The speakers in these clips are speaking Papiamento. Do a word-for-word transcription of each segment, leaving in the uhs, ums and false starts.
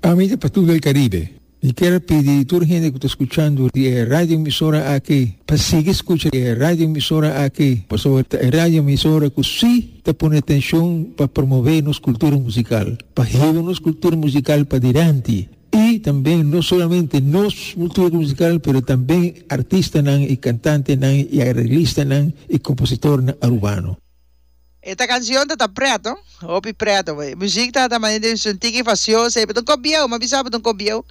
Ami ta Patu del Caribe. Mi kier pidi tur hende cu ta scuchando e radio emisora aki, pa sigui scucha e radio emisora aki, pasobra e radio emisora cu si ta pone atencion pa promove nos cultura musical, pa hiba nos cultura musical pa dilanti. Y tambe no solamente nos cultura musical, pero tambe artistanan y cantantenan y areglistanan y compositornan arubano. Esta cancion ta preto, hopi preto. Muziek ta ta manera un tiki fastioso, pero un bieu, m'a bisa un bieu.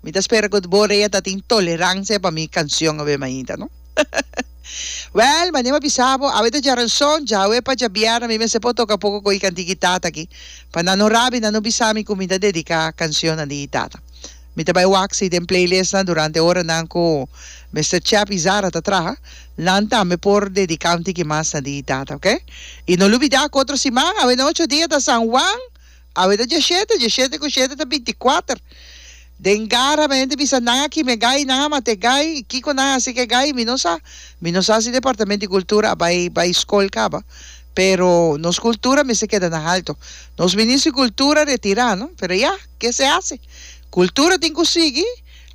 Mi ta spera cu bo ta tin tolerancia pa mi cancion awe mainta, no? Well, manera bisa bo, awe ta djaranson, djawe pa djabièrnè, mi mester por toca poco cu cantica di tata aki. Pa nan no rabia, nan no bisa mi cu mi ta dedica cancion di tata. Mi ta bay wak si den playlist na durante oranan cu Mister Chappy Zara ta traha, nan tambe por dedica un tiki mas na di tata, ok? Y no lubida cu otro siman, awe na ocho dia ta San Juan, awe ta diesshete, diesshete cu shete ta binticuater. Den gara, mente bisa nan aki me gai, nan mate gai, kiko nan así que gai, mi no sa. Mi no sa si Departamento di Cultura bay bay scol caba. Pero nos cultura mester keda na halto. Nos ministro di Cultura retira, no? Pero ya, ¿qué se hace? Cultura tin cu sigui.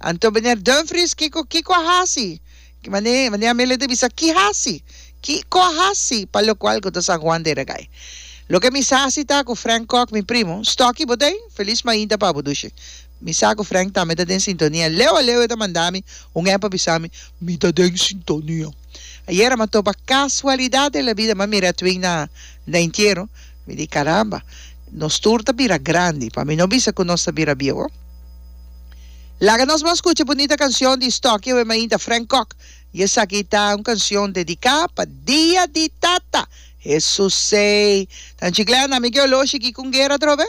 Anto meneer Dumfries, kiko kiko hasi? Mane mane amele de bisa ki hasi? Kiko hasi? Pa lo cual cu San Juan de Gai. Loke mi sa ta cu Frank Koch, mi primo, Stocky bo t'ey, feliz mainta pa bo dushi. Mi sa cu Frank tambe ta den sintonia. Leo leo ta manda mi un app bisa mi, mi ta den sintonia. Ayera m'a topa casualidad de la vida, m'a mira twin na na entiero. Mi di caramba, nos tur ta bira grandi, pa mi no bisa cu nos ta bira bieu. Laga nos ban scucha bunita cancion di Stocky awe mainta, Frank Koch. Y esaki ta un cancion dedica pa Dia di Tata. Jesus sei. Tanchi Glenn, ami ke oloshi cu guera trobe?